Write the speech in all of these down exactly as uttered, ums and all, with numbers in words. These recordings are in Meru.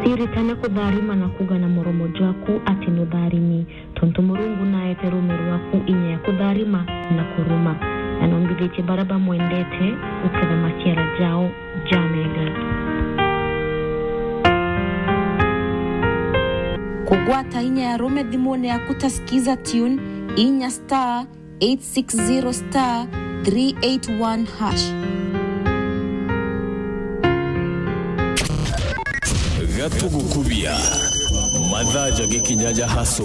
Siritane kutharima na kuuga na muromo jwaku ati nutharimi, tontu Murungu naete ruume rwaku inya ya kutharima na kuruma, na nombithitie baria bamwendete guketha maciara jao jamega. Kugwata inya ya ruume thimune yaku ta Skiza Tune, inya star eight six zero star three eight one hash. Gatugukubia. Mathaa jagikinya ja haso.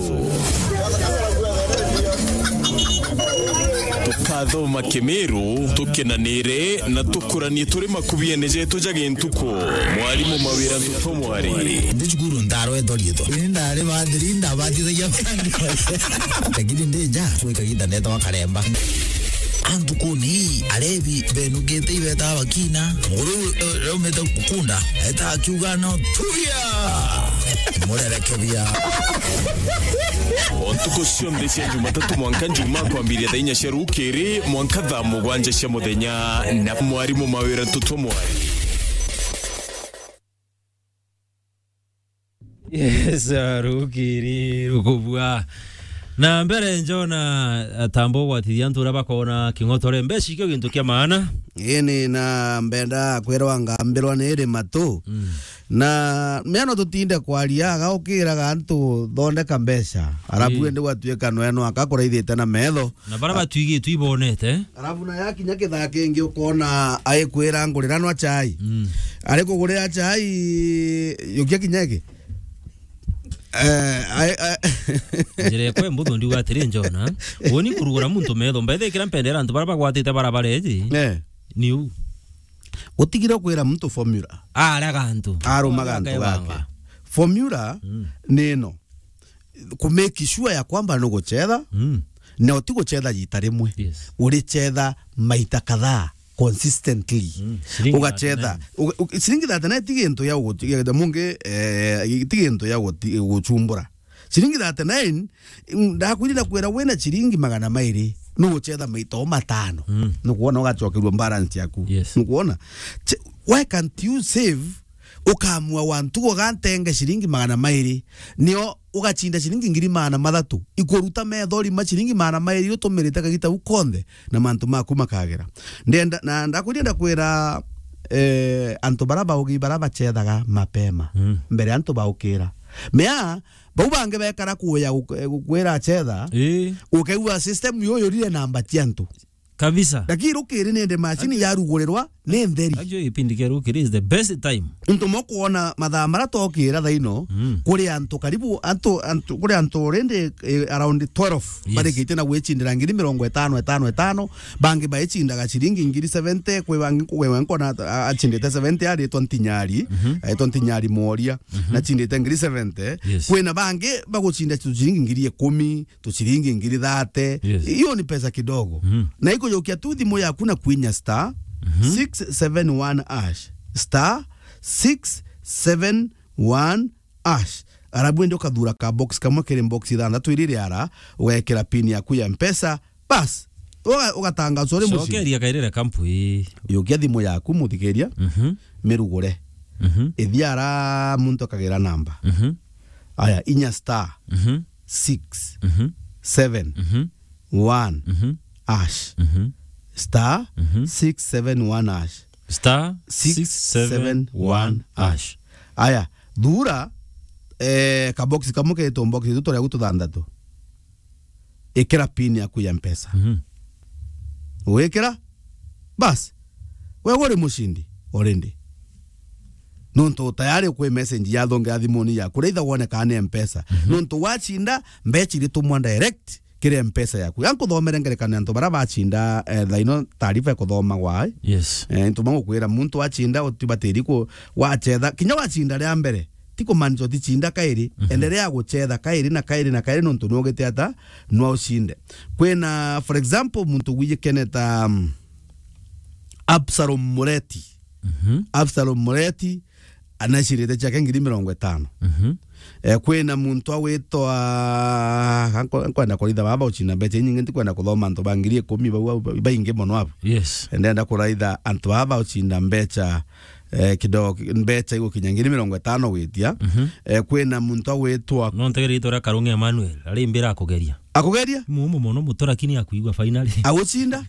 Tukathoma Kimiru, tukenanire na tukuranie turi makubiene jetu ja gintuku. Mwarimu Mawira Ntuto Mwari. Ndi cukuru ndarwetwa riitwa. Ini ndari bathiri, ndabathithagia. Lakini ndi nja, kwi kagiita ndeetagwa Karemba. Antu kuni, arebi, benukite ibetaga bakina. Nguru, eh, yaumite kukunda, eta akiuga no, "Tuya!" Murereke bia. O ntuku cionthe cia Jumatatu mwanka Njumaa kwambiria thaa inya cia rukiri mwanka thaa mugwanja cia muthenya na mwarimu Mawira Ntuto Mwari. Yes, ah, rukiri, rukubua. Na mbere njona, ah, tamba ugwatithia antu uria bakona king'otore. Mbeca ikio gintu kia maana. Ini na mbenda kwirwa ngambirwa ni iri matu. Mm. Na miano tutinde kwaria, aga ukiraga antu thondeka mbeca. Arabu Ii. Indi gwatuika nweno akakuraithite na metho. Na bara batwigitwe ibonete. Arabu na yakinya kithaa kingi ukona aikwira ngurira nwa chai. Mm. Ari kugurira chai, yukia kinya iki. Eh, ai, ai. Njira ekwe mbuthu ndiuga atiri njona. Woni kurugura muntu metho, mbethikira mpendera antu bara bagwatite bara bareji. Eh. Niu. Utigire kwira muntu formula. Araga antu. Arumaga antu gake. Formula Mm. ni ino. Ku make sure ya kwamba nuguchetha, Mm. na utiguchetha jita rimwe. Yes. Urichetha maita kadhaa, consistently. Mm. Shilingi Ugachetha. thirty-nine. Uga-, u-, shilingi thirty-nine ti gintu ya guti-, ya mungi, eh, ti gintu ya guti-, guchumbura. Shilingi thirty-nine, mm, ndakwirira kwira wina shilingi magana mairi, nuguchetha maita o matano. Mm. Nukwona ugachokerua balance yaku. Yes. Nukwona? Che-, why can't you save ukamua wantu ugantenge shilingi magana mairi, nio ugachinda shilingi ngiri magana mathatu, ikuruta metho rima shilingi magana mairi utumirite kagita u konthe, na mantu maku makagera. Ndenda, na ndakwiria ndakwira, eh, antu bara baugi bara bachethaga mapema, Mm. mbere antu baukira. Mea, bau bangi bekara kuya guk-, gukwira achetha, Ii. ukaigua system yo yurire namba cia antu. Kabisa. Lakini rukiri nindi macini yarugurirwa ni ntheri. Actually, gipindi kia rukiri is the best time. Ntu mokwona mathaa mara tokira thaino, Mm. kuri antu karibu, antu, antu, kuri antu already, eh, around twelve, Yes. barikite na gwicindira ngiri mirongo itano, itano, itano, bangi baichindaga ciringi ngiri seventy, kwi bangi, kwi we nkona a-, achindite seventy aritwa Ntinyari, Mhm. aitwa Ntinyari Mworia, Mhm. na chindite ngiri seventy, Yes. kwina bangi baguchinda tu ciringi ngiri ikumi, tu ciringi ngiri thirty. Yes. Hiyo ni pesa kidogo. Mhm. Na ikujukia tu thimu yaku na kwinya star Mhm. six seven one hash. Star six seven one hash. Arabu indi ukathura ka box kamwe kiri box ithanthatu iri riara, ugekira pin yaku ya Mpesa, bas. Uga-, ugatangazwa uri mucii. Cokeria kairire kampu ii. Yukia thimu yaku, muthikiria, Mhm. mirugure. Mhm. Ithia ara muntu akagira namba. Mhm. Aya, inya star Mhm. six Mhm. seven Mhm. one Mhm. hash. Mhm. Star Mhm. six seven one hash. Star six seven one hash. Aya, thura, eh, kabox kamwe ketwo box itu turia tuthanthatu. Ikira pin yaku ya Mpesa. Mhm. Wikira, bas, we uri mucindi already. Nontu tayari kwi message yathongera thimuni yaku, raitha wone kana ni Mpesa. Mhm. Nontu wacinda, mbeca iritumwa direct kiri Mpesa yaku. Ga nkuthomere ngerekano ya antu bara bacinda, eh, thaino taarifa ikuthomagwa, eh. Yes. Eh, ntuma ngukwira muntu wacinda utibatiri ku-, wachetha, kinya wacinda ria mbere, ti kumaanisha uticinda kairi, Mhm. endelea guchetha kairi na kairi na kairi nontu nwogete ata, nwa ucinde. Kwina, for example, muntu gwijikene ta, mm, Absalom Mureti. Mhm. Absalom Mureti, anacindite ciake ngiri mirongo itano. Mhm. Eh, kwina muntu agwitwa, nkwenda kuritha baba ucinda mbeca inyingi, ntikwenda kuthoma antu ba ngiri ikumi bau, bau, baingi mono abo. Yes. Ndenda kuraitha antu baba ucinda mbeca, eh, kidogo, mbeca igukinya ngiri mirongo itano gwitia. Mhm. Eh, kwina muntu agwitwa No ntegere itwa ria Karungi Emmanuel, ari mbira akugeria. Akugeria? Mumu mono muto, lakini akuigua finally. Agucinda?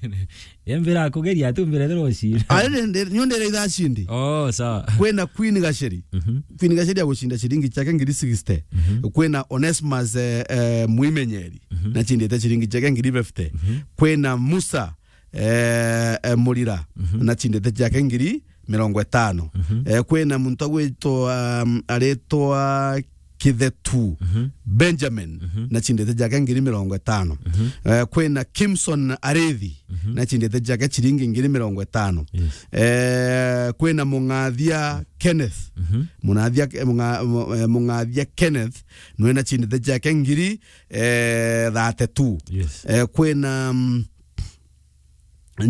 Ye mbira akugeria, ati mbira thero ucinda. Ari nde, nyo ndere itha cindi. Oh, sawa. Kwina Queen Gacheri. Mhm. Queen Gacheri agucinda ciringi ciake ngiri sixty. Mhm. Kwina Onesmus, eh, eh, Mwimenyeri. Mhm. Nacindite ciringi ciake ngiri fifty. Mhm. Kwina Musa, eh, eh, Murira. Mhm. Nacindite ciake ngiri mirongo itano. Mhm. Eh, kwina muntu agwitwa, um, aritwa Kithetu Mhm. Benjamin, Mhm. nacindite ciake ngiri mirongo itano. Mhm. Eh, kwina Kimson Arithi, Mhm. nacindite ciake ciringi ngiri mirongo itano. Yes. Eh, kwina Mung'athia Kenneth. Mhm. Mung'athia, eh, Mung'a-, Mu-, eh, Mung'athia Kenneth, nwe nacindite ciake ngiri, eh, thirty-two. Yes. Eh, kwina, mm,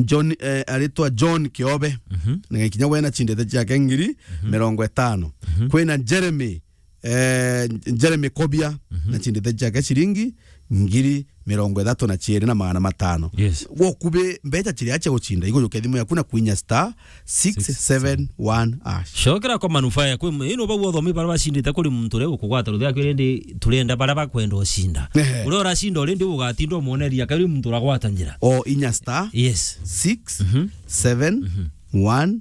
John, eh, aritwa John Kiobe, Mhm. na kinya we nacindite ciake ngiri Mhm. mirongo itano. Mhm. Kwina Jeremy, eh, Jeremy Kobia, Mhm. nacindite ciake ciringi ngiri mirongo ithatu na ciiri na magana matano. Yes. Gwokubi mbeca ciria cia gucinda, igujukia thimu yaku na kwinya star six seven one hash. Cokera kwa manufaa yaku, ino bau othomi bara bacindite kuri muntu uria ukugwata ruthi yaku, rindi turenda bara bakwenda ucinda. Ehe. Uria uracinda already ugatinda umwoneria kari muntu uragwata njira. O inya star Yes. six seven one Mhm.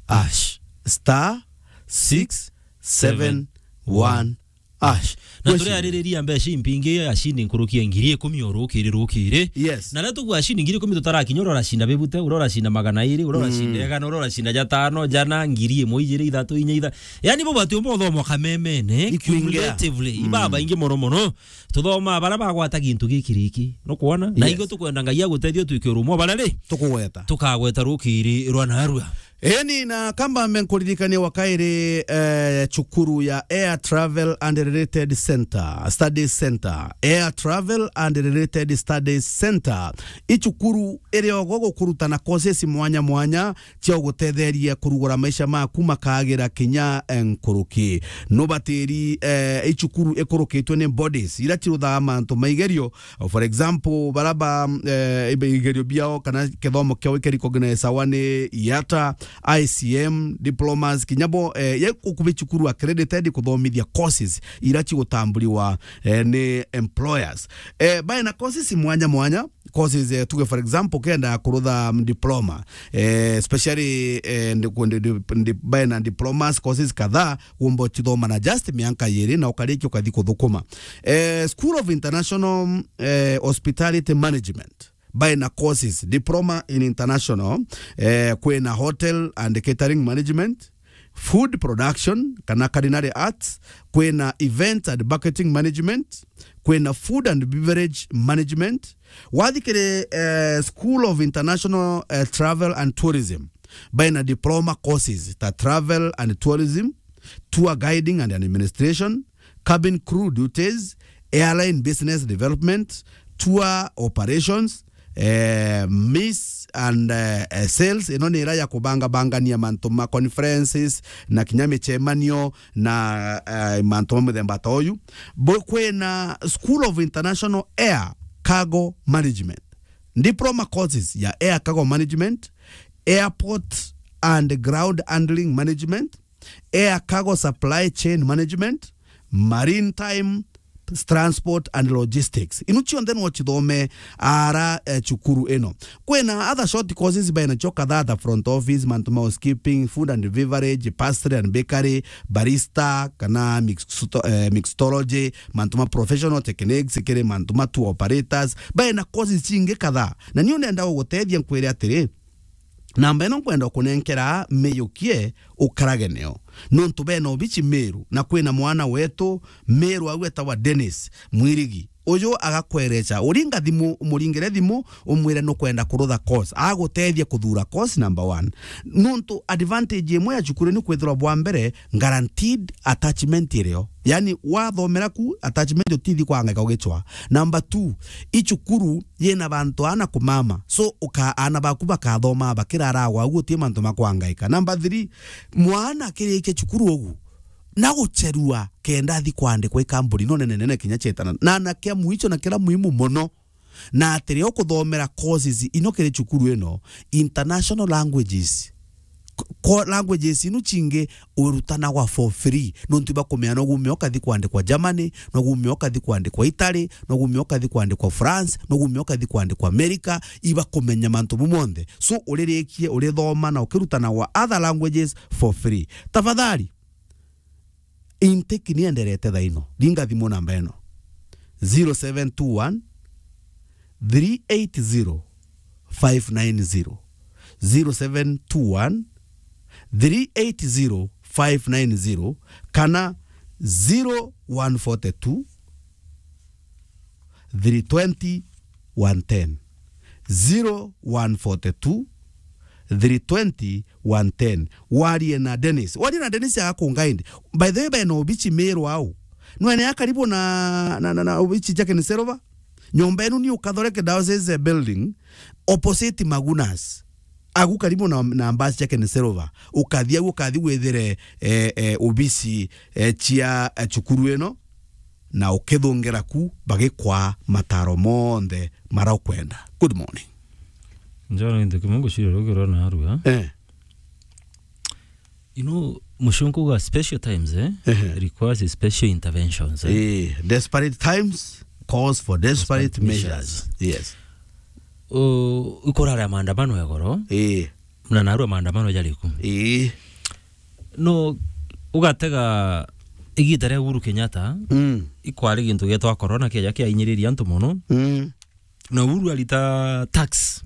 hash. Star six seven one hash. Na Gwe turi cindi. aririria mbeca impingi, acindi nkuruki ya ngiri ikumi o rukiri rukiri. Yes. Na riria tugua acindi ngiri ikumi tutarakinya, uria uracinda bibute, uria uracinda magana iri, uria uracinda Mm. igana, uria uracinda jatano, jana, ngiri imwe, ijiri, ithatu, inya, itha-, yani, bo bati umwe uthoma kamemene, Ikwingira. cumulatively, Mm. iba baingi mono mono. Tuthoma bara bagwata gintu giki riki. Nukwona? Na Yes. igwe tukwenda Ngai agutethie utwike urumwe bara ri? Tukugweta. Tukagweta rukiri rwa narua. Eni na kamba mbe nkuririkanie wa kairi, eh, cukuru ya Air Travel and Related Center, Studies Center. Air Travel and Related Studies Center. I cukuru iri ogo gukurutana courses mwanya mwanya cia gutetheria kurugura maisha maku makagira kinya, eh, nkuruki. Nubatiri, eh, i cukuru ikurukitwe ni bodies ira ciruthaga mantu ma igerio. For example, bara ba, eh, ibe-, igerio biao kana kithomo kiao ike recognize awa ni IATA, I C M, diplomas, kinya bo, eh, ye gukubi cukuru accredited kuthomithia courses ira cigutamburiwa, eh, ni employers. Eh, baina courses mwanya mwanya, courses, eh, tuge for example, kenda kurutha, mm, diploma, eh, especially, eh, ndi-, ndi-, ndi-, ndi-, baina diplomas courses kadhaa, wumba ucithoma na just mianka yiri na ukarikia ukathi kuthukuma. Eh, School of International, eh, Hospitality Management, baina courses, diploma in international, eh, kwina hotel and catering management, food production kana culinary arts, kwina event and marketing management, kwina food and beverage management. Wathi kiri, eh, School of International, eh, Travel and Tourism, baina diploma courses ta travel and tourism, tour guiding and administration, cabin crew duties, airline business development, tour operations, eh, meals and, eh, eh, sales. Ino ni ira ya kubangabangania mantu ma conferences na kinya micemanio na, eh, mantu ma muthemba ta uyu. Bo-, kwina School of International Air Cargo Management, diploma courses ya air cargo management, airport and ground handling management, air cargo supply chain management, maritime transport and logistics. Inu cionthe no cithome ara, eh, cukuru ino. Kwina other short courses baina cio kadhaa ta front office, mantu ma housekeeping, food and beverage, pastry and bakery, barista, kana mixto-, eh, mixology, mantu ma professional techniques, kiri mantu ma tour operators. Baina courses cingi kadhaa. Na niu nenda gugutethia nkwire atiri, namba ino nkwenda kunenkera miyukie ukarage nio. Nontu bena obici Meru, na kwina mwana wetu Meru au etawa Dennis Mwirigi. Uyu agakwereca, uringa thimu, umuringire thimu, umwire nukwenda kurutha course. Agutethia kuthura course number one. Nontu advantage imwe ya cukuru ni kwithirwa bwa mbere, guaranteed attachment irio. Yani, wathomera ku, attachment utithi kwangaika ugicwa. Number two, i cukuru yina bantu ana kumama. So, uka-, ana baku bakathoma bakirara gwa uguo, uti mantu ma kwangaika. Number three, mwana akirikia cukuru ugu, na gucherua kenda athi kwandikwa i kambuni no nene nene kinya chetana. Na anake a mwicho na kira muhimu mono, na ati riria ukuthomera courses ino kiri cukuru ino, international languages, ko-, languages inu cingi urutanagwa for free. Nontu ibakumenya no gumia ukathi kwandikwa Germany, no gumia ukathi kwandikwa Italy, no gumia ukathi kwandikwa France, no gumia ukathi kwandikwa America, ibakumenya mantu mau monthe. So, uririkie, urithoma na ukirutanagwa other languages for free. Tafadhali, intake ni enderete thaino. Ringa thimu namba ino. Zero seven two one, three eight zero, five nine zero. Zero seven two one, three eight zero, five nine zero, kana zero one forty two, three twenty, one ten. Zero one forty two, three twenty, one ten. Warie na Dennis. Warie na Dennis agakunga indi. By the way, bena obichi Meru au. Nwene ya karibu na, na, na, na obichi Jack and Silver. Nyomba enu ni Ukathoreke Diocese Building, opposite Magunas. Agu karibu na, na mbasi Jack and Silver. Ukathi au, ukathi withire, eh, eh, obichi, eh, cia, eh, cukuru ino, na ukithungira ku bagikwa mataro monthe mara ukwenda. Good morning. Njoro into kimwe ngucira rugi rwa narua. Eh. You know, mucunku ga special times, eh, Ehe. requires special interventions, eh. Eh, desperate times calls for desperate Desperate measures. measures. Yes. O, ikurara maandamano ya goro. Eh. Na narua maandamano jariku. Eh. No, ugatega igita ria Uhuru Kenyatta, Mm. ikwari gintu gietwa corona kiaja kiainyiriria antu mono. Mm. Na Uhuru arita tax.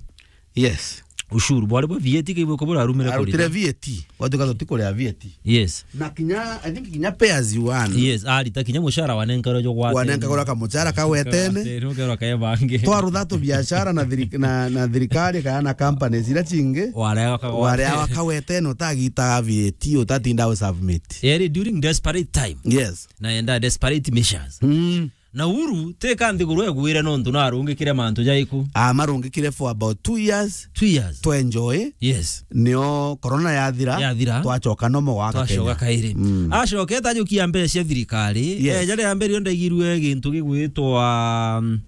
Yes. Ushuru, bwari bwa V A T kaibwe ko burarumire Arutire kurita. V A T. Watu kazo tikuria V A T. Yes. Na kinya, I think kinya pay as you earn. Yes, arita kinya mushara wanenkarwa jo gwatene. Wanenkarwa kamuchara kawetene. Kawetene, ukerwa kae bangi. Twarutha tu biashara na thiri-, na, na thirikari kana na companies ira cingi. Warea waka-, Warea waka-, wakawetene utagita V A T utatinda u submit. Eri during desperate time. Yes. Na enda desperate measures. Mm. Na Uhuru, teka nthiguru egwire nontu narungikire mantu jaiku. Amarungikire for about two years. Two years. Twenjoy. Yes. Nio corona yathira. Yathira. Twacoka nomo gwaka Twacoka Kenya. kairi. Mm. Acokete ajukia mbeca cia thirikari. Yes. Eh, jari ya mbere io ndaigirue gintu gigwitwa, mm,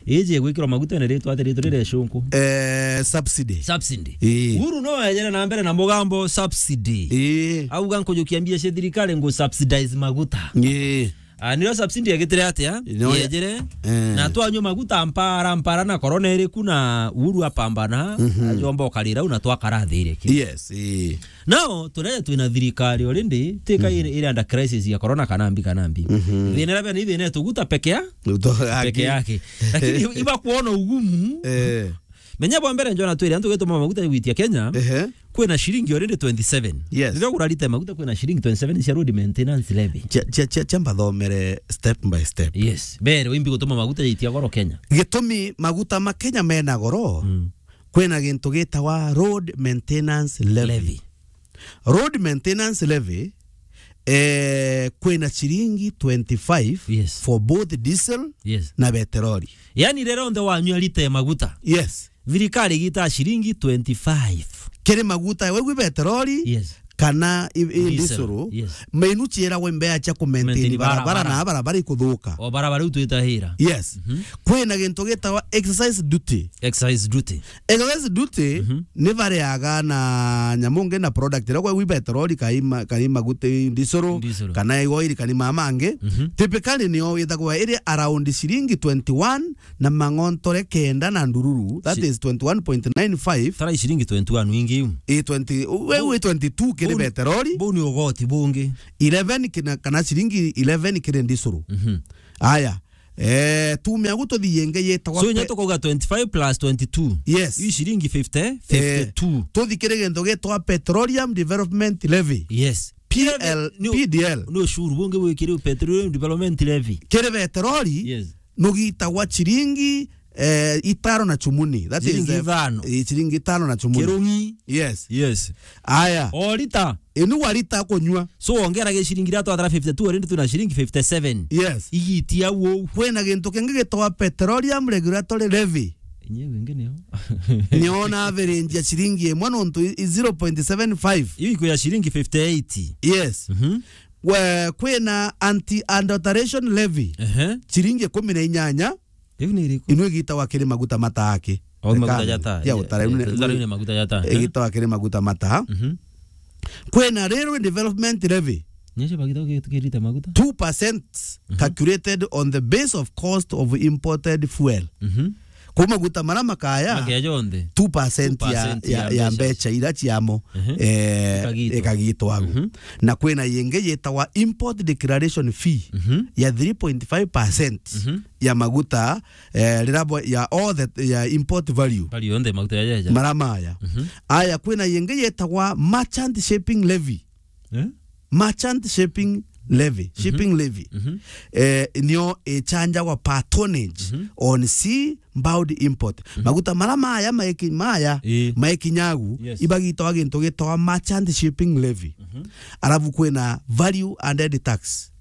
iji gwikirwa maguta ni ritwa ati ritwa rire cunku. Eh, subsidy. Subsidy. Ii. Uhuru no ejere na mbere na mugambo subsidy. Ii. Auga nkujukia mbia cia thirikari ngu subsidize maguta. Ii. Ah, nirio subsidy yagitire atia? No, ya- Yejere. Eh. Na twanyua maguta mpara, mpara na corona iri ku na Uhuru apambana, Mhm. ajomba ukarira u na twakara thire ki. Yes, eh. Now, turere twina thirikari already, tika Mhm. iri, iri under crisis ya corona kana mbi, kana mbi. Mhm. Thina iria bena ithina tuguta peke ya-, Uto-, peke aki- yake. Lakini iba kuona ugumu. Eh. Menya bwa mbere njona twiri antu gituma maguta gwitia Kenya. Ehe. Kwina ciringi already twenty seven. Yes. Riria urarita maguta kwina ciringi twenty seven cia road maintenance levy. Cia, cia, cia, cia mbathomere step by step. Yes. Mbere wimbi gutuma maguta yaitia goro Kenya. Gitumi maguta ma Kenya mena goro, Mm. kwina gintu gitawa road maintenance levy. Levy. Road maintenance levy, eh, kwina ciringi twenty five Yes. for both diesel Yes. na beteroli. Yani rero nthe wanyua lita ya maguta. Yes. Thirikari igita ciringi twenty five. Kiri maguta, wegwi beteroli, Yes. kana i, i Diesel, ndisuru, yes. mainu ciiragwa imbea cia kumaintain Maintain barabara, barabara. na barabara ikuthuka. O barabara iu twitahira. Yes. Mhm. Kwina gintu gitawa excise duty. Excise duty. Excise duty Mhm. ni bariaga na nyamu ngi na product iria kwegwi beteroli, kai ma-, kai maguta, ndisuru, Ndisuru. kana oil, kana mama angi. Mhm. Typically nio withagwa iri around ciringi twenty one na mang'ontore kenda na ndururu, that Ci- is twenty one point nine five. Tara ciringi twenty one wingi iu. I twenty, we, Bau- we twenty two kiri bau ni- beteroli. Bau ni ugoti bungi. Eleven kina, kana ciringi eleven kiri ndisuru. Mhm. Aya. Eh, tume agu tuthi yenge yetagwa So, pe- inya tukauga twenty five plus twenty two. Yes. Ii ciringi fifty, Eh, fifty two. Tuthi kiri gintu gitwa Petroleum Development Levy. Yes. P L, Ni- P D L. Ni ushuru bungi wikiri Petroleum Development Levy. Kiri beteroli, Yes. nugitagwa ciringi, eh, itano na chumuni. That is, Ciringi eh, ithano. eh, ciringi itano na chumuni. Kirungi. Yes. Yes. Aya. O lita. Inu wa lita kunyua. So, wongera gi ciringi iria twatara fifty two, already twina ciringi fifty seven. Yes. Igitia uu. Kwina gintu kingi gitagwa Petroleum Regulatory Levy. Inye wingi nio. Nio na average ya ciringi imwe nontu i, i zero point seven five. Iu iku ya ciringi fifty eight. Yes. Mhm. We, kwina anti-adulteration levy. Ehe. Ciringi ikumi na inyanya. Riu ni iriku? Ino igitagwa kiri maguta mataaki. O maguta jata. Ya utara, inu ni, inu ni maguta jata. Igitagwa kiri maguta mataa. Mhm. Kwina railway development levy. Nicio bagita ki-, kirite maguta? Two percent, mhm, calculated on the base of cost of imported fuel. Mhm. Kuu maguta mara makaya, makaya jonthe, two percent ya, two percent ya, ya, ya mbeca, mbeca ira ciamo, mhm, eh, ikagitwa, ikagitwa agu. Mhm. Na kwina yingi yitagwa import declaration fee, mhm, ya three point five percent, mhm, ya maguta, eh, rira bo-, ya all the, ya import value. Value yonthe maguta ya, ya, ya. Mara maya. Mhm. Aya, kwina yingi yitagwa merchant shipping levy. Eh? Merchant shipping levy, mhm, shipping levy. Mhm. Eh, nio ichanjagwa per tonnage, mhm, on sea bound import. Mhm. Maguta mara maya maiki-, maya, ii, maikinyagu, yes, ibagitwa gintu gitwa merchant shipping levy. Mhm. Alafu kwina value added tax,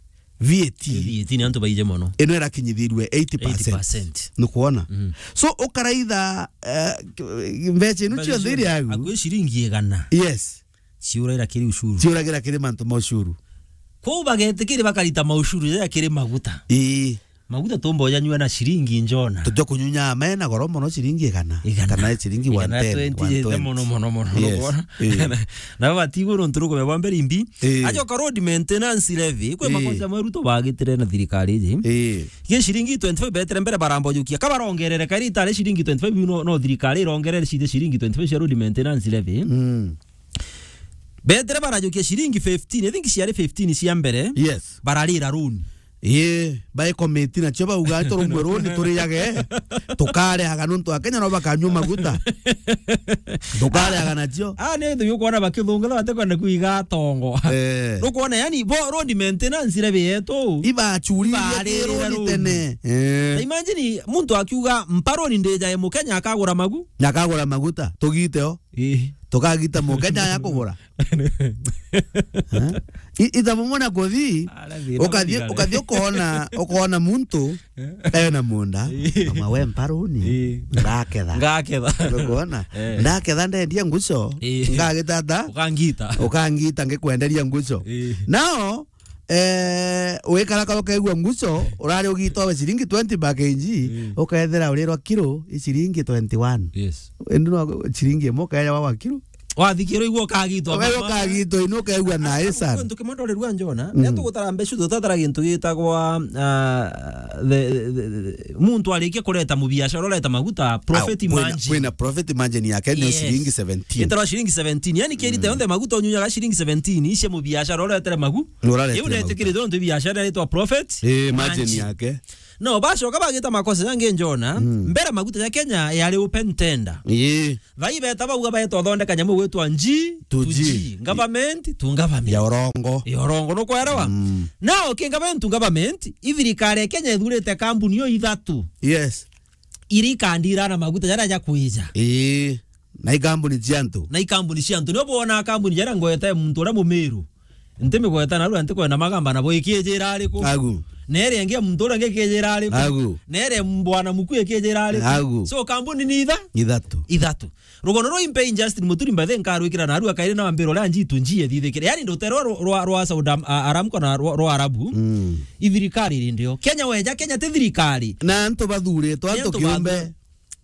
V A T. V A T ni antu baije mono. Ino irakinyithirue eighty percent. Eighty percent. Nukwona? Mhm. So, ukaraitha, eh, mbeca inu cionthe iri agu. Akwi ciringi igana. Yes. Ciuragira kiri ushuru. Ciuragira kiri mantu ma ushuru. Kwou bagetikiri bakarita maushuru jaja kiri maguta. Ii. Maguta tumboja nyua na ciringi njona. Tujua kunyunya me na goro mono ciringi igana. Igana. Kana ciringi igana one ten, twenty, one twenty. Mono, mono, mono, yes, mono. Ii. Na baba tigo nontu rukume bwa mbere imbi. Ii. Ajoka road maintenance levy. Kwe, ii, makosa mweru tubagitire na thirikari iji. Ii. Ye ciringi twenty-five betere mbere barambojukia. Kabarongerere kairi itare ciringi twenty-five no, no thirikari irongerere cithe ciringi twenty-five cia road maintenance levy. Mm. Betere barajukia ciringi fifteen, I think ciari fifteen cia mbere. Yes. Bararira loan. Ii, by committee nacio bauga, "Turumwe loan, turiage, tukareaga nontu Akenya no bakanyua maguta." Tukareaga nacio. Ah, ni ntu yukwona bakithungatha batekwenda kuiga atongo. Eh. Nukwona, yani, bo road maintenance levy yetu. Ibachuririe, ibarire ki loan loan tene. Eh. Na imagine, muntu akiuga, "Mpa loan ndijae Mukenya akagura magu." Na akagura maguta, tugite o. Ii. Tukagita Mukenya ya kugura. Eh? I-, itha mumona kuthi, ukathi, ukathi ukona, ukona muntu, eh, ena munda, ii, kama we mparuni, ii, ngaketha. Ngaketha. Ukona? Eh. Ndaketha ndendia nguco, ii, ngagitata. Ukangita. Ukangita ngikwenderia nguco. Ii. Nao, eh, wikara ka ukaigua nguco, urari ugitwa we ciringi twenty per K G, mm, ukethira urirwa kiro i ciringi twenty-one. Yes. Indi no ciringi imwe ukaeja wa kiro. Wathikirwo igua ukagitwa. Ukaigua ukagitwa, ino ukaigua na esa. Kintu kimwe ndorerua njona, mm, ria tugutara mbeca, tutatara gintu gitagwa, ah, the, the, the, the, muntu arikia kureta mubiashara ureta maguta, profit margin. Kwina profit margin yake ni, yes, ciringi seventeen. Itara ciringi seventeen. Yani kirite, mm, yonthe maguta unyunyaga ciringi seventeen, icia mubiashara uretere magu. Uretere maguta. Iu netikirite nontu biashara iretwa profit, eh, margin, margin yake. No, bacoka bagita makosa jangi njona, mm, mbere maguta ja Kenya yari open tender. Ii. Thai beta bauga beta uthondeka nyamu gwitwa G to G. G to G. Government to government. Ya urongo. Ya urongo, nukwelewa? Mm. Nao ki government to government, ithirikari ya Kenya ithurite kambuni yo ithatu. Yes. Iria ikandira na maguta jaria ja kwija. Ii. Na ikambuni cia antu. Na ikambuni cia antu. Nio bwona kambuni jaria ngweta muntu uria Mumiru. Ntimigweta narua, ntikwenda magamba nabo ikijira ariku. Agu. Na iria ingi ya muntu uria ingi ikijira ariku. Agu. Na iria ya bwana Muku ikijira ariku. Agu. So, kambuni ni itha-, ithatu. Ithatu. Rugono rwa Impei Justin Muturi Mbathe nkarwikira narua kairi na wambira uria njitu njie thithikire. Yani, rutere rwa, rwa, rwa Saudi Am-, a-, Aramco na rwa, rwa Arabu. Mm. Ithirikari iri ndio. Kenya weja, Kenya ti thirikari. Na antu bathuritwe, antu kiumbe.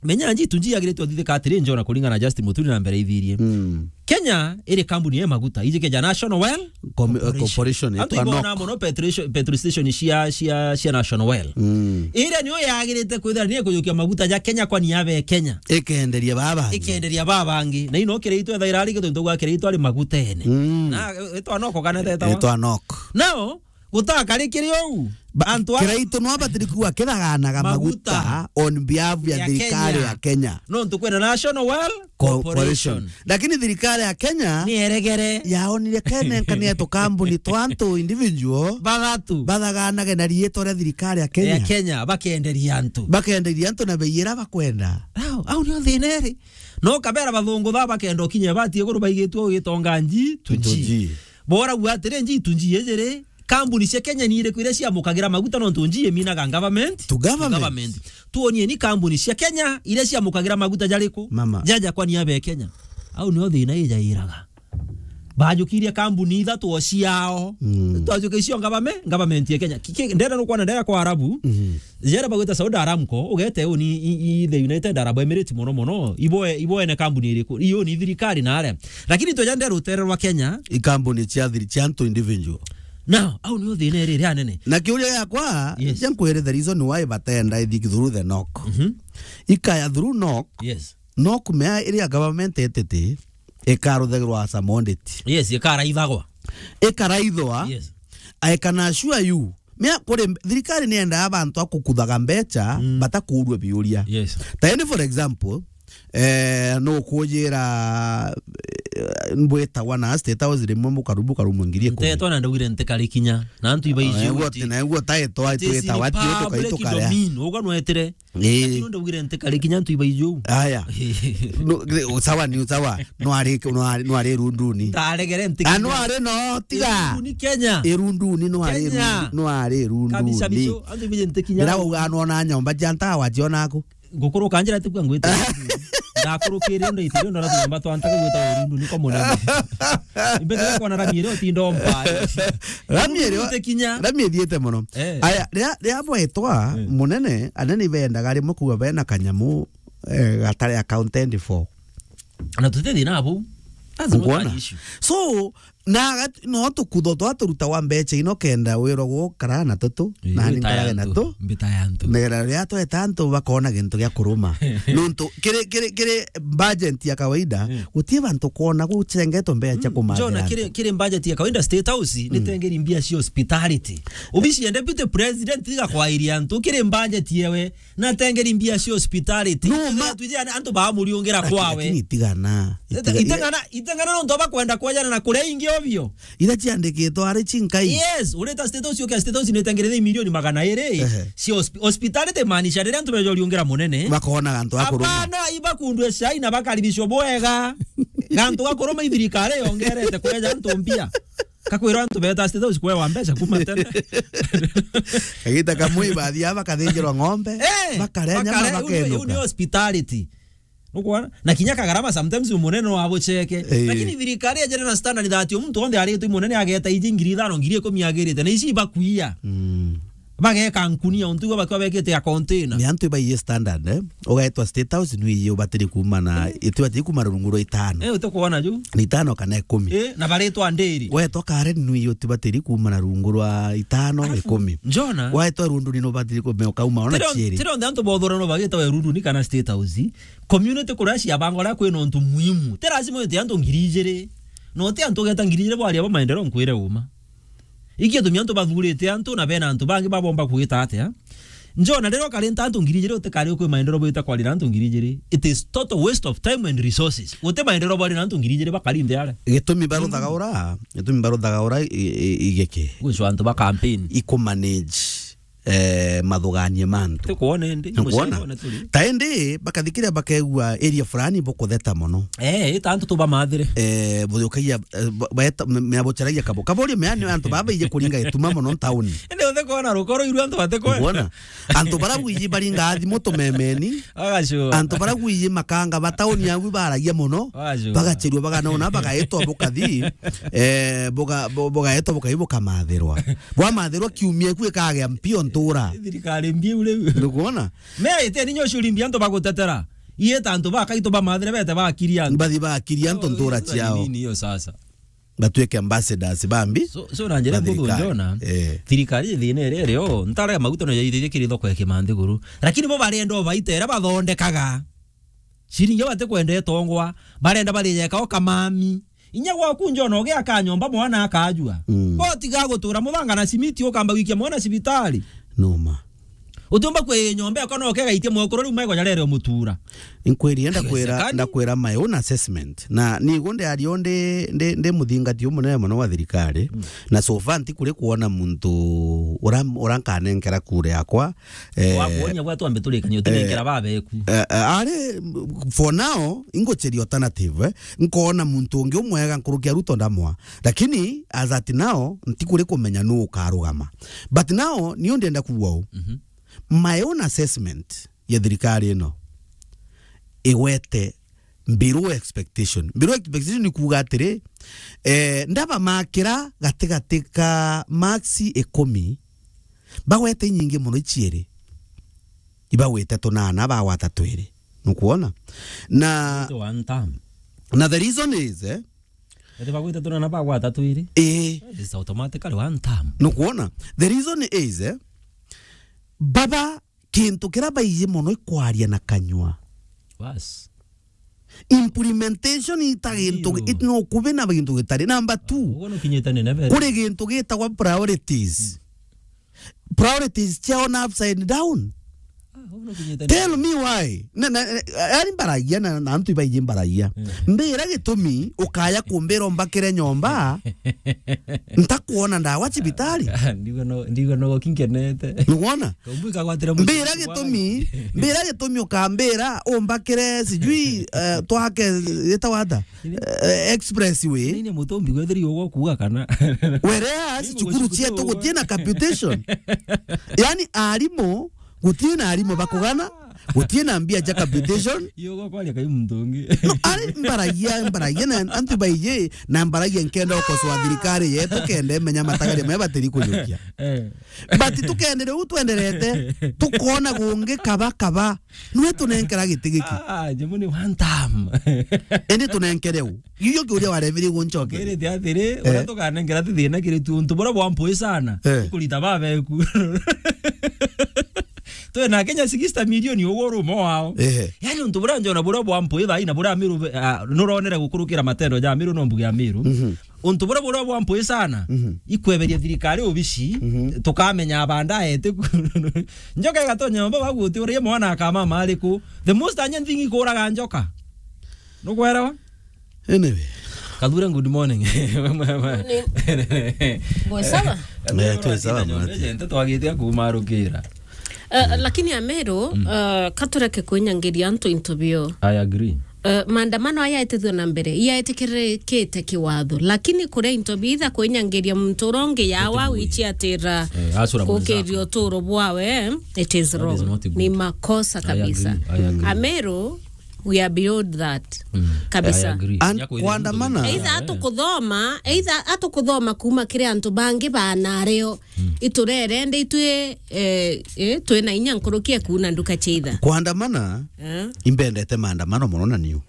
Menya njitu njiagiritwe thithika atiri, njona kuringana na Justin Muturi na mbere ithirie. Mm. Kenya iri kambuni ya maguta, iji keja National Oil Com-, eh, Corporation. Corporation, antu itwa ibona NOC. Mono petrol, petrol station cia, cia, cia National Oil. Mm. Iria niyo yagirite kwithira niyo kujukia maguta ja Kenya kwani yabe Kenya. Ikenderia baba bangi. Ikenderia baba bangi. Na ino kiritwe thaira ari kitu ntugwa kiritwe ari maguta ene. Mm. Na, eh, itwa NOC kana tetawa? Itwa NOC. Nao, gutakari kiri uu. Ba-, antu a- Kiraitu no abatiri kuwa kithaganaga maguta, maguta on behalf ya, ya thirikari Kenya. Ya Kenya. Nontu kwina National Oil Co-, Corporation. Corporation. Lakini thirikari ya Kenya ni eregere. Yaonire kene nkania tukambuni twa antu individual. Bathatu. Bathaganage na riitwa ria thirikari ya Kenya. Ya Kenya, bakenderia antu. Bakenderia antu na bei ira bakwenda. Au, au nio thina iri. No kabera bathungu ba bakenda ukinya bati iguru baigitwe ugitonga nji, to nji. To nji. Bora gwa atiri nji, to nji ijiri. Kambuni cia Kenya ni iriku iria ciamukagira maguta nontu nji iminaga government? To government. To government. Tuonie ni kambuni cia Kenya iria ciamukagira maguta jariku? Mama. Jaja kwani abe Kenya. Au nio thina ijairaga. Bajukirie kambuni ithatu o ciao. Mm. Twajukia icio ngabame-, government ya Kenya. Ki-, ki-, ndenda nukwona ndenda kwa Arabu. Mm. Jera bagwita Saudi Aramco, ugete uni i, i, the United Arab Emirates mono mono. Ibo e-, ibo ene kambuni iriku? Iyo ni thirikari na aria. Lakini tweja nde rutere rwa Kenya. I kambuni cia thiri-, cia antu individual. Now, au nio thina iri ria nene. Na kiuria giakwa, Yes. cia nkwire the reason why batenda ithi through the NOC. Mhm. Ikaya through NOC. Yes. NOC mea iria government entity ikaruthagirwa as a commodity. Yes, ikaraithagwa. Ikaraithwa. Yes. I can assure you, mea kuri thirikari ni endaa bantu a kukuthaga mbecha, Mm. batakuurua biuria. Yes. Taende, for example, eh, no kujira, eh, mbwitagwa na State House rimwe mukaru-, mukarumwa ngiri ikumi. Ntetwa na ndaugire ntikari kinya. Na antu ibaiji Eh, uti. Na niguo taetwa, It is twitawa, in ati public tukaitukarea. Domain. Uga nwetire. Ii. Lakini ndaugire ntikari kinya antu ibaiji. Aya. No, sawa ni sawa. No ari, no ari, no ari runduni. Ndaregere ntikari. Ah, no ari no, tiga. Irunduni Kenya. Irunduni no ari Kenya. Irunduni, no ari runduni. Kabisa bicho, antu ibaiji ntikinya. Ndira uga no na nyomba cia ntawa cionaku. Ngukuru kanjira tikua ngwita. Ndakurukire ndo itire ndo na tunyomba twa ntaga gwita urundu niko munene. Imbete kwa na rami ire utinda ompa. Rami ire, Ntikinya. Rami ithiete muno. Eh. Aya, ria, ria bwetwa Eh. munene, anene ibendaga rimwe kuga bena kanyamu, eh, gatari accounted for. Na tuti thina abu. That's not an Ngwona? issue. So, na agat-, no tukutho twa turuta wa mbecha ino kenda wirwa gukara na tutu, Ii, na ni mbita ya nkarage na ntu, tu. Mbita ya ntu. Nigera ria tweta antu bakona gintu gia kuruma. Nontu kiri, kiri, kiri budget ya kawaida, Mm. gutie bantu kona guchengetwe mbecha cia Mm, kumathira Jona, antu. kiri, kiri budget ya kawaida State House, Mm. nitengeri mbia cia hospitality. Obici ya Deputy President tiga kwairia antu, kiri budget yewe, natengeri mbia cia hospitality. No, ma- Tuje antu bamuriungira Lakini, kwawe. lakini itigana. Ite-, Itiga-, itengana, itengana nontu bakwenda kwejana na kuria ingi ovyo. Ira ciandikitwe ari cinkai. Yes, ureta State House, ukia State House nitengerethe milioni magana iri. Ehe. Cia hospi-, hospitality maanisha riria antu bejoriungira munene. Bakona antu a kuruma. Hapana, ibakundwe cai na bakaribishwa bwega. Na antu a kuruma ithirikari yongerete kureja antu mbia. Kakwira antu beta State House kwewa mbeca kuma tene. Kagita kamwe ibathi aba kathinjirwa ng'ombe, Eh, bakare nyama, bakare, u ni, u ni bakaenuka. Hospitality. Nukwona? Na kinya kagarama sometimes umunene no abucheke. Eh. Lakini thirikari ya General Standard that yo muntu onthe aritwe munene ageta iji ngiri ithano, ngiri ikumi agirite. Na ici ibakuia. Mm. Bageka nkunia, untu igo bakwa bekite ya container. Ni antu ibaiye standard, eh? Ugaetwa State House, nwiye ubatiri kuuma na, Mm. itibatiri kuuma rungu rwa itano. Eh, uti kuona ju? Ni itano kana ikumi. Eh, na baritwa ndiri. Wetwa Karen, nwiye utibatiri kuuma na rungu rwa itano, Alafu, ikumi. Njona? Wetwa Rundu ni ubatiri kuuma ukauma ona Tiro, chieri. Tiro nthe antu bothora no bagita we Rundu ni kana State House. Community kuria cia bango ria kwina untu muhimu. Ti lazima wete antu ngiri ijiri. No ti antu ugeta ngiri ijiri bwaria ba maendeleo nkwire uma. Iki gitumi antu bathurite antu na bena antu bangi babomba kwita atia? Njona riria ukarinta antu ngiri ijiri utikari ukwi maendeleo bwita kwarira antu ngiri ijiri. It is total waste of time and resources. Uti maendeleo bwarira antu ngiri ijiri bakari nthi aria. Gitumi baruthaga Mm. ura, gitumi baruthaga ura i, i, igeke. Gwicwa antu ba campaign. Ikumanage, eh, mathuganie ma antu. Tukwona indi, Nkuona? Mucere one turi. Ta indi, bakathikiria bakegua area fulani bukutheta mono. Eh, ita antu tubamathire. Eh, bujukagia, eh, ba-, baeta, me-, meabucharagia kabo. Kabo ri meani antu baba ije kuringa ituma mono ntauni. Indi uthe kuona rukoro iru antu bate kuona. Nkuona? Antu bara gwiji baringa thimu tumemeni. Agacua. Antu bara gwiji makanga ba tauni agu baragia mono. Agacua. Bagachirua baganona bagaetwa bukathi. Eh, buga-, bu-, bugaetwa bukathi bukamathirwa. Bwamathirwa kiumia iku ikagea mpio ntura. Thirikari mbiu riu. Ndukuona? Me ite ninyo curi mbia antu bagutetera. Ieta antu bakaitwa bamathire bete bakiria antu. Bathi bakiria antu ntura ciao. Nini hiyo sasa? Batuike ambassadors bambi. So, so na njira ba mbuthu thirikari. Njona, Eh. Thirikari thina iria irio, ntara ya maguta no yaithirie kiri thoko ya Kimanthiguru. Lakini bo barenda o baita iria bathondekaga. Ciringi bate kwenda itongwa, barenda barijeka o kamami. Inya gwaku njona ugiaka nyomba mwana akajua. Mm. Bo tiga gutura muthanga na simiti ukamba gwikia mwana cibitari. Noma. Utiumba kwi nyomba yako no ukegaitia mwekuru riu maigo jarere umutura. Inkwiri, ndakwira, Haiwezekani. Ndakwira my own assessment. Na nigo ndi ario ndi, ndi, ndi muthingati umunene mono wa thirikari. Mm. Na so far ntikuri kuona muntu ura, ura nkanenkera kura yakwa. Eh, Wakuonia gwa twambe turikanie, eh, utinenkera babeku. Eh, eh, ari, for now, ingucheria alternative, eh. Nkona muntu ungi umwega nkuruki ya Ruto ndamwa. Lakini as at now, ntikuri kumenya nu ukarugama. But now, niu ndienda kuuga u. Mhm. My own assessment ya thirikari ino igwete below expectation. Below expectation ni kuuga atiri, Eh, ndabamakira gatigati ka marks ikumi, bagwete inyingi mono iciiri. Ibagwite tunana, bagwata twiri. Nukwona? Na, one term. Na the reason is, eh, ati bagwite tunana, bagwata twiri? Eh. It's automatically one term. Nukwona? The reason is, eh, baba kintu kiria baiji mono ikwaria na kanyua. Bas. Implementation ita gintu, it no kubi na gintu gitari. Number two, ugo nukinyite ni never. Kuri gintu gitagwa priorities. Priorities ciao na upside down. Ah, ugo nukinyite ni. Tell me why. Na, na, na, yani mbaragia na, na antu ibaiji mbaragia. Mm. Mbira gitumi ukaya kumbira umbakire nyomba. Ntakuona ndawa cibitari. Ndigo no, ndigo no kinkenete. Nukwona? Mbira gitumi, mbira gitumi ukambira umbakire sijui, eh, twake, yetagwa ata? Eh, expressway. Nini mutumbi gwethiri ugo kuga kana? Whereas cukuru cietu gutie na capitation. Yani arimu, gutie na arimu bakugana, gutie na mbia ja capitation. Iyo gwa kwaria kai muntu ungi. No, ari mbaragia, mbaragia na antu baiji, na mbaragia nkenda ukosoa thirikari yetu, kenda imenya matagaria maya batiri kujukia. Eh. But tukendere u twenderete, tukona gungi kaba kaba. Nwe tunenkera giti giki. Ah, jamu ni one time. Indi tunenkere u. Iyo kiuria waremire guncoke. Ngirite atiri, eh, uria tukanenkera ti thina kiri tu, untu buria bwa mpui sana. Eh. Kurita babeku. Twe na Kenya sixty million ugo rumo wao. Ehe. Yani untu buria njona buria bwa mpui thaa ii na buria Amiru, ah, nuronere gukurukira matendo ja Amiru no mbuge Amiru. Mhm. Untu buria buria bwa mpui sana, mhm, ikweberia thirikari ubici, mhm, tukamenya baadaye ti ku-, njoka igatonya nyomba baguti uria mwana akamama ariku. The most urgent thing ikuraga njoka. Nukwelewa? Anyway. Kathura, good morning. Morning. Mwe sawa? Kathura, eh, twi sawa, mate. Nte twagitia kumarukira. Eh, lakini Amiru, mm, eh, katureke kwinyangiria antu into bio. I agree. Eh, maandamano aya yaitithua na mbere, yaetikirikite kiwatho, lakini kuria into bitha kwinyangiria muntu uria ungi yawa wichiatira, eh, acura kukiria uturo bwawe, it is wrong. That is not good. Ni makosa kabisa. I agree, I agree. Amiru, we are beyond that. Mm. Kabisa. I agree. And kuandamana. Either atukuthoma, either atukuthoma kuma kiri antu bangi banario. Mm. Iturere ndi itwi, eh, eh, twina inya nkuruki ya kuuna nduka cia itha. Kuandamana, eh, imbendete maandamano mono na niu.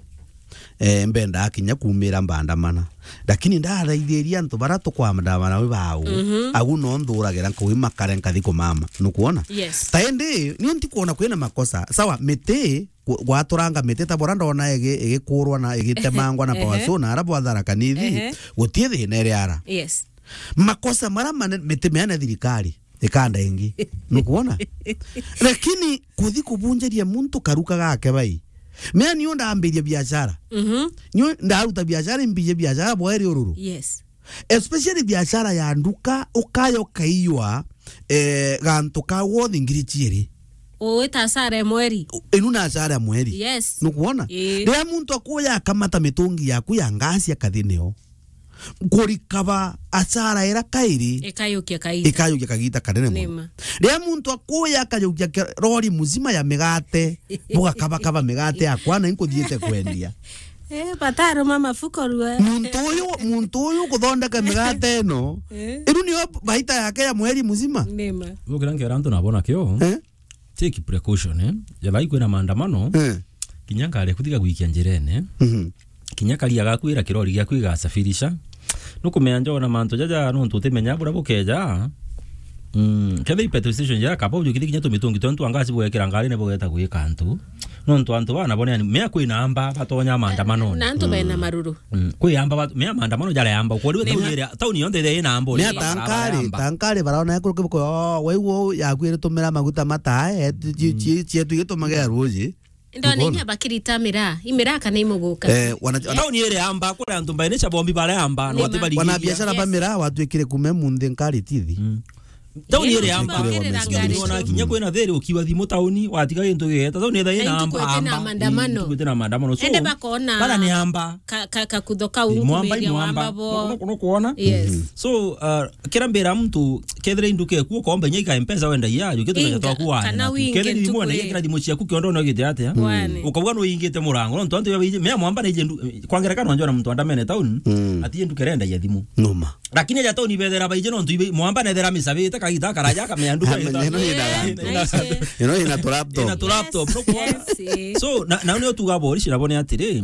Eh, mbendaa kinya kuumira mbaandamana. Lakini ndathaithiria antu bara tukwandamana wi bau. Mhm. Agu no nthuragira nkuwi makare nkathi kumama. Nukwona? Yes. Ta indi, niu ntikuona kwina makosa. Sawa, miti, gwa-, gwaturanga miti ta bora ndona igi-, igikurwa na igitemangwa na Power Show na ara bwa Tharaka Nithi, ehe, gutie thina iri ara. Yes. Makosa mara manene, miti miana thirikari, ikanda ingi. Nukwona? Lakini kuthi kubunjiria muntu karuka gake bai. Mea niu ndambiria biashara. Mhm. Niu ndaruta biashara, imbije biashara bweri ururu. Yes. Especially biashara ya nduka, ukaya ukaiywa, eh, gantu ka wothi ngiri ciiri. Uwita asara ya mweri. U-, inu na asara ya mweri. Yes. Nukwona? Ii. Riria muntu akuya akamata mitungi yaku ya ngasi akathi nio. Kurikaba asara ira kairi. Ikayukia kaita. Ikayukia kagita kanene mono. Nima. Riria muntu akuya akayukia ke-, rori muzima ya migate, bugakabakaba migate yakwa na inkuthiite kwendia. Eh, bataruma mafuko rua. Muntu uyu, muntu uyu kuthondeka migate ino, eh, iru niyo baita yake ya mweri muzima. Nima. Gukira nkera antu nabona kio. Eh? Take precaution, eh? Jathai kwina maandamano, eh, kinya ngari yaku tiga gwikia njirene. Mhm. Kinya karia gaku ira kirori giaku igasafirisha. Nukumenya njona mantu jaja nontu utimenya buria bukeja. Mm, kethira i petrol station jara kaba ujukite kinya tumitungi tontu anga aci bwekira ngari ni bugeta gwika antu. Nontu antu bana bone yani, mea kwina amba batonya maandamano. Na antu bena maruru. Mm, kwi amba bat-, mea maandamano jara amba. Kwa riu tauni ira, tauni yonthe ira ina amba. Mea tankari, tankari barona ekuru kibuko, oh, waiwo yakwire tumira maguta matae, eh, ci-, ci-, cietu igitumagea ruji. Ndona inya bakirita miraa, imiraa kana imuguka. Eh, wana-, tauni iri amba, kuri antu mbaini cha bombi bare amba, no tibari. Wana biashara ba miraa watwikire kume munthi nkari tithi. Mm. Tauni iri amba. Iri amba. Ona kinya kwina thiri ukiwa thimu tauni, watiga gintu gigeta. Tauni iri amba. Iri amba. Iri maandamano. So, ende bakona bara ni amba. Ka-, ka-, kakutho kau. Mwamba, mwamba. Nukuona? Yes. So, uh, kira mbira muntu, kethira induka eku ukomba inya ika mpesa wenda iya, yu kitu kanya twaku wana. Kana wingi kethira thimu wana, kira thimu ciaku kiondo no gite atia? Ukauga no ingite murango, no ntu antu ya biji, me mwamba na ije ndu-, kwa ngerekano njona muntu andamene tauni, ati nduka renda ya thimu. Numa. Lakini aja tauni bethera baije nontu ibe mwamba nethera misabite kagita karaja kameanduka. Ino ina laptop. Ina tu laptop. So, na, na nio tuga borici nabo ni atiri.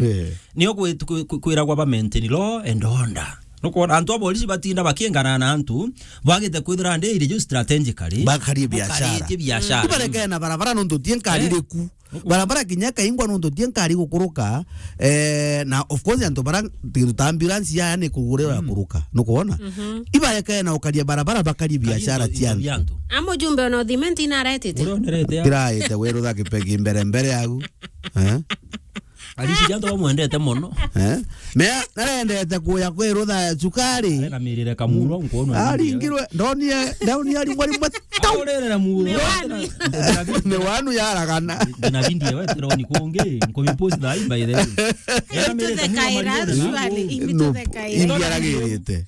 Nio kwi-, kwi-, kwi-, kwiragwa ba maintain law and order. Nukwona antu a borici batinda bakiengana na antu bagite kwithira ndi iri ju strategically. Bakarie biashara. Bakarie biashara. Ibareke na barabara nontu tie nkari riku. Barabara kinya kaingwa nontu tie nkari gukuruka, eh, na of course antu bara kintu ta ambulance yaya ni kugurira ya kuruka, nukwona? Ibaeke na ukaria barabara bakarie biashara cia antu. Amujumbe ona uthimenti inaretete. Uria onerete ya. Tiraite wirutha kipegi mbere mbere yagu. Eh? Ariciria antu bamwendete mono. Eh? Mea narendete kuya kwirutha cukari. Arega mirire kamuro nkuona. Aringirwe, ndonie, ndonie aringwa rimwe. Aurere na muro. Ni wanu. Ni wanu yaragana. Ndina video wetu roni kungi, nkomi post thaa hii by the way. Into the kaira, surely, into the kaira. Imbiaragirite.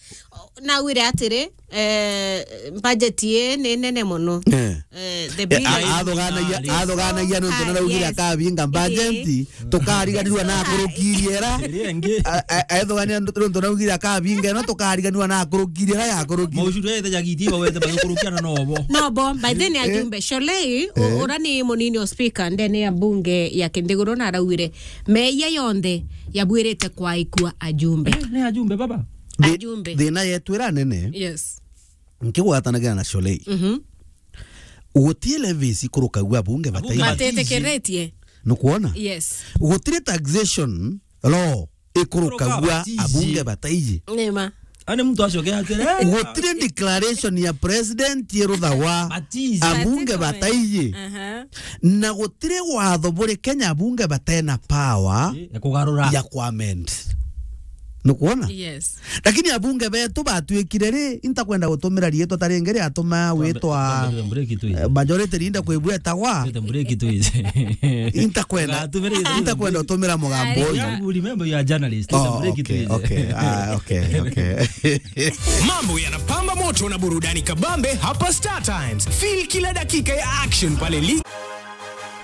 Nawire atiri, eh, budget ii ni nene mono. Eh. Eh, the bill. Athuganagia, athuganagia nontu naraugire akabinga budget, tukariganirwa na akurukirie era. Athugania nontu naraugire akabinga ino, tukariganirwa na akurukirie era yakurukirie. Maucuru ete jagiti bawete bakurukiana nobo. Nobo, by then ajumbe. Sholei, ura ni munini o speaker ndene ya bunge ya Kindiguru na araugire, meia yonthe yabwirite kwaikua ajumbe. Eh, ni ajumbe baba. Ajumbe. Thina yetu ira nene. Yes. Nkigwatanagira na Sholei. Mhm. Gutie levies ikurukagua abunge bataiji. Batetikiritie. Nukwona? Yes. Gutire taxation law ikurukagua abunge bataiji. Nima. Ani muntu acoke atire. Gutire declaration ya president iruthagwa abunge bataiji. Aha. Na gutire watho buri Kenya abunge batena power ya kugarura, ya kuamend. Nukwona? Yes. Lakini abunge betu batwikire ri, intakwenda gutumira riitwa ta ringi riatuma witwa, eh, majority leader kwibua etagwa. Intakwenda, intakwenda gutumira mugambo uyu. Remember you are journalist. Oh, okay, okay. Ah, okay, okay. Mambo yanapamba moto na burudani kabambe hapa Star Times. Feel kila dakika ya action pale li-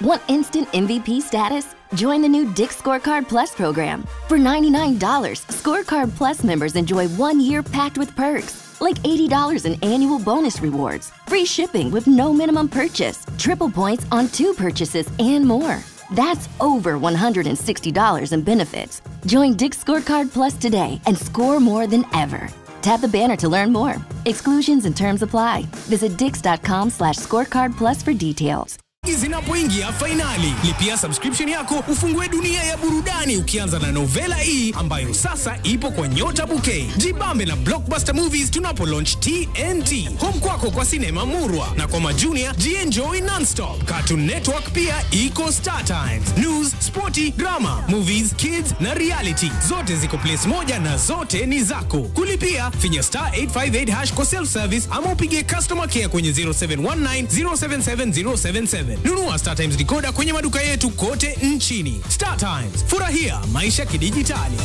Want instant M V P status? Join the new Dick's Scorecard Plus program. For ninety-nine dollars, Scorecard Plus members enjoy one year packed with perks, like eighty dollars in annual bonus rewards, free shipping with no minimum purchase, triple points on two purchases, and more. That's over one hundred sixty dollars in benefits. Join Dick's Scorecard Plus today and score more than ever. Tap the banner to learn more. Exclusions and terms apply. Visit dicks.com/scorecardplus for details. Zinapoingia fainali, lipia subscription yako ufungue dunia ya burudani ukianza na Novela E ambayo sasa ipo kwa Nyota Bouquet. Jibambe na Blockbuster Movies tunapo launch T N T. Home kwako kwa sinema murwa na kwa majunia jienjoy nonstop. Cartoon Network pia iko Star Times. News, sporty, drama, movies, kids na reality. Zote ziko place moja na zote ni zako. Kulipia, finya star eight five eight hash kwa self service ama upigie customer care kwenye zero seven one nine zero seven seven zero seven seven. Nunua Star Times decoder kwenye maduka yetu kote nchini. Star Times, furahia maisha kidijitali.